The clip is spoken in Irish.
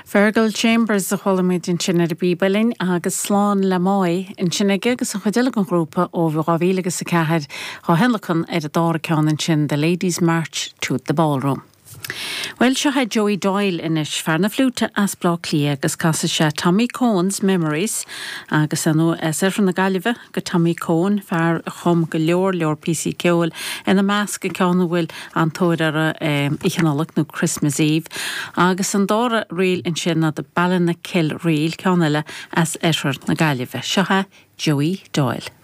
Fergal Chambers a chuala muid ansin ar an bpíb uilleann agus Slán le Máigh ansin aige agus an chuid eile den ghrúpa ó 2000 agus 4 á thionlacan ar an dara ceann ansin The Ladies March to the Ballroom. Bhuel, seo é Joey Doyle anois, fear na fliúite as Bleá Cliath agus casfaidh sé Tommy Coen's Memories agus ar ndóigh as oirthear na Gaillimhe do Tommy Coen, fear a chum go leor leor píosaí ceoil, ina measc an ceann a bhfuil an-tóir orthu Oíche Nollag nó Christmas Eve, agus an dara ríl ansin ná The Ballinakill Reel, ceann eile as oirthear na Gaillimhe. Seo é Joey Doyle.